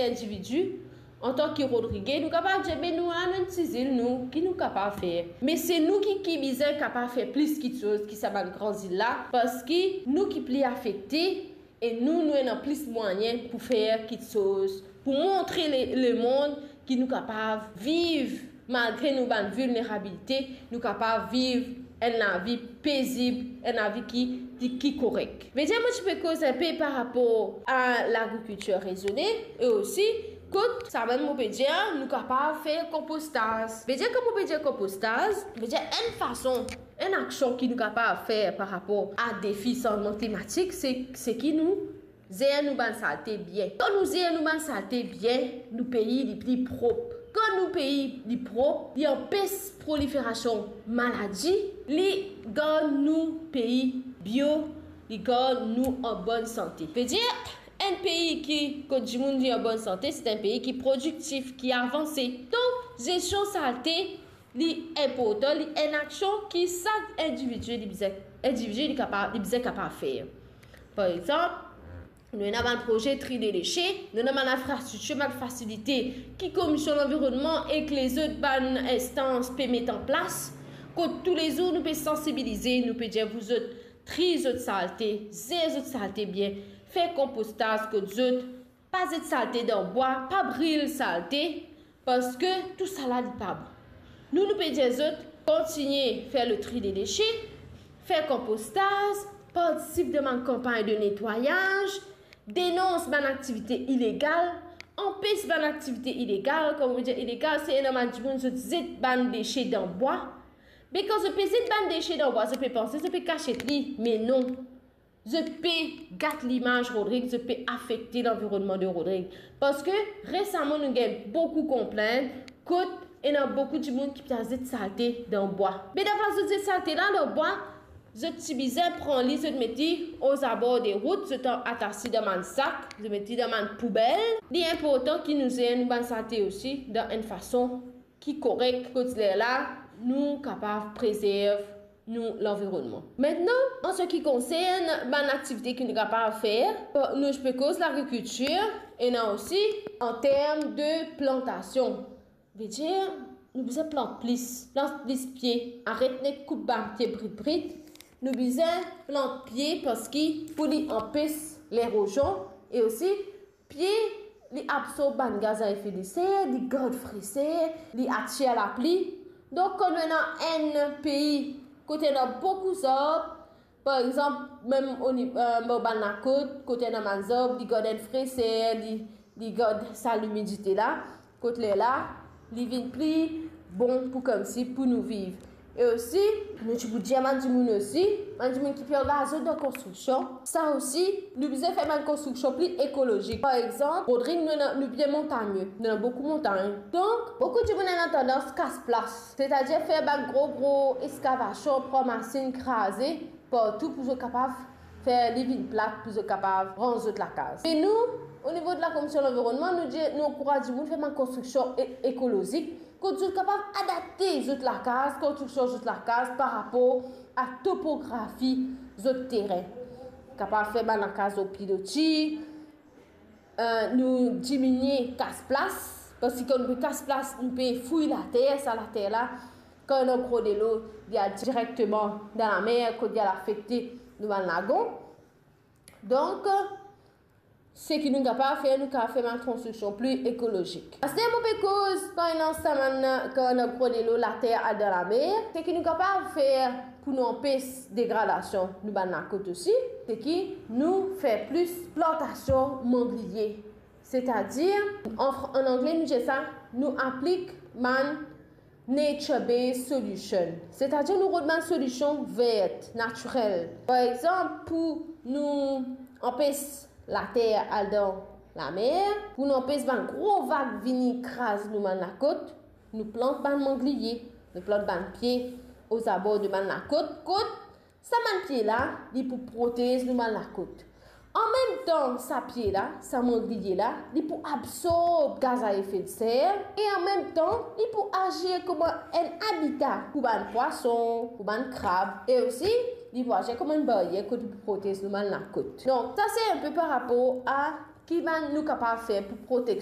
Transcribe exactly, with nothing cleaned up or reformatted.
individi, antan ki Rodrige, nou kapav dir, be nou la, nou enn ti zil, nou, ki nou kapav fer? Me se nou ki, ki bizin kapav fer plis kiksoz ki sa bann gran zil la, parski nou ki pli afekte, e nou, nou ena plis mwayin pou fer kiksoz, pou montre le, lemond ki nou kapav viv, malgre nou bann vilnerabilite, nou kapav viv enn lavi pezib, enn lavi ki, ki, ki korek. Vedir, mo ti pe koz enpe par rapor a lagrikiltir rezone, e osi, kot sa mem mo pe dir, nou kapav fer konpostaz. Vedir, kan mo pe dir konpostaz, vedir enn fason, enn aksion ki nou kapav fer par rapor a defi sanzman klimatik, se, se ki nou zer nou bann salte bien. Kan nou zer nou bann salte bien, nou pei li pli prop. Kan nou pei li prop, li anpes proliferasion maladi, li gard nou pei bio, li gard nou an bonn sante. Vedir, enn pei ki, kot dimoun li an bonn sante, se enn pei ki prodiktif, ki avanse. Donk, zesion salte, li inportan, li enn aksion ki sak individi li bizin, individi li kapav, li bizin kapav fer. Par exanp, nou ena bann proze tri de dese, nou ena bann infrastriktir, bann fasilite ki Komision Lanvironnman ek lezot bann instans pe met an plas, kot toulezour nou pe sansibilize, nou pe dir, zot tri zot salte, zer zot salte bien, fer konpostaz kot zot, pa zet salte dan bwa, pa bril salte, parski tousala li pa bon. Nou, nou pe dir zot, kontigne fer le tri de dese, fer konpostaz, partisip dan bann kanpagn de netwayaz, denons bann aktivite ilegal, anpes bann aktivite ilegal. Kan mo dir ilegal, se ena bann dimoun zot zet bann dese dan bwa. Me kan zot pe zet bann dese dan bwa, zot pe panse zot pe kasiet li, me non. Zot pe gat limaz Rodrig, zot pe afekte lanvironnman de Rodrig. Parski resaman nou gagn boukou konplint kot ena boukou dimoun ki pe al zet salte dan bwa. Me dan plas zot zet salte la dan bwa, zot ti bizin pran li, zot met li ozabor de rout, zot atas li dan bann sak, zot met li dan bann poubel. Li inportan ki nou zer nou bann salte osi dan enn fason ki korek, kot lerla nou kapav prezerv nou lanvironnman. Aster, an se ki konsern bann aktivite ki nou kapav fer, nou pe koz lagrikiltir, ena osi an term de plantasion. Vedir, nou bizin plant plis, plant plis pie, aret nek koup bann pie brit brit. Nou bizin plant pie parski pou li anpes lerozion, e osi pie, li absorb bann gaz a efe de ser, li gard freser, li atir lapli. Donk, kan nou ena enn pei kot ena boukou zarb, par exanp, mem oni-, eh, bor bann lakot, kot ena bann zarb, li gard enn freser, li, li gard sa limidite la, kot lerla, li vinn pli bon pou koumsi pou nou viv. E osi, nou ti pou dir bann dimoun osi, bann dimoun ki pe angaz zot dan konstriksion, sa osi, nou bizin fer bann konstriksion pli ekolozik. Par exanp, Rodrig, nou ena, nou bien montagne, nou ena boukou montagn. Donk, boukou dimoun ena tandans kas plas, setadir fer bann gro, gro eskavasion, pran masinn, kraze partou pou zot kapav fer li vinn plat, pou zot kapav ranz zot lakaz. E nou, o nivo de la Komision Lanvironnman, nou dir, nou ankouraz dimoun fer bann konstriksion e-, ekolozik, kot zot kapav adapte zot lakaz, konstriksion zot lakaz par rapor a topografi zot terin. Kapav fer bann lakaz lor piloti, eh, nou diminie kas plas, parski kan nou pe kas plas, nou pe fouy later, sa later la, kan ena gro delo, li al direkteman dan lamer, kot li al afekte nou bann lagon. Donk, seki nou kapav fer, nou kapav fer bann konstriksion pli ekolozik. Aster mo pe koz, par exanp, sa bann, kan ena gro delo, later al dan lamer, seki nou kapav fer pou nou anpes degradasion nou bann lakot osi, seki nou fer plis plantasion mangliye. Setadir, an fr-, an angle nou dir sa, nou aplik bann nature-based solution. Setadir nou rod bann solision ver, natirel. Par exanp, pou nou anpes later al dan lamer, pou nou anpes bann gro vag vini kraz nou bann lakot, nou plant bann mangliye, nou plant bann pie ozabor de bann lakot, kot sa bann pie la, li pou protez nou bann lakot. An mem tan, sa pie la, sa mangliye la, li pou absorb gaz a efe de ser, e an mem tan, li pou azir kouma enn abita pou bann pwason, pou bann krab, e osi, li pou azir kouma enn baryer kot li pou protez nou bann lakot. Donk, sa se enpe par rapor a Ki bann nou kapav fer pou protek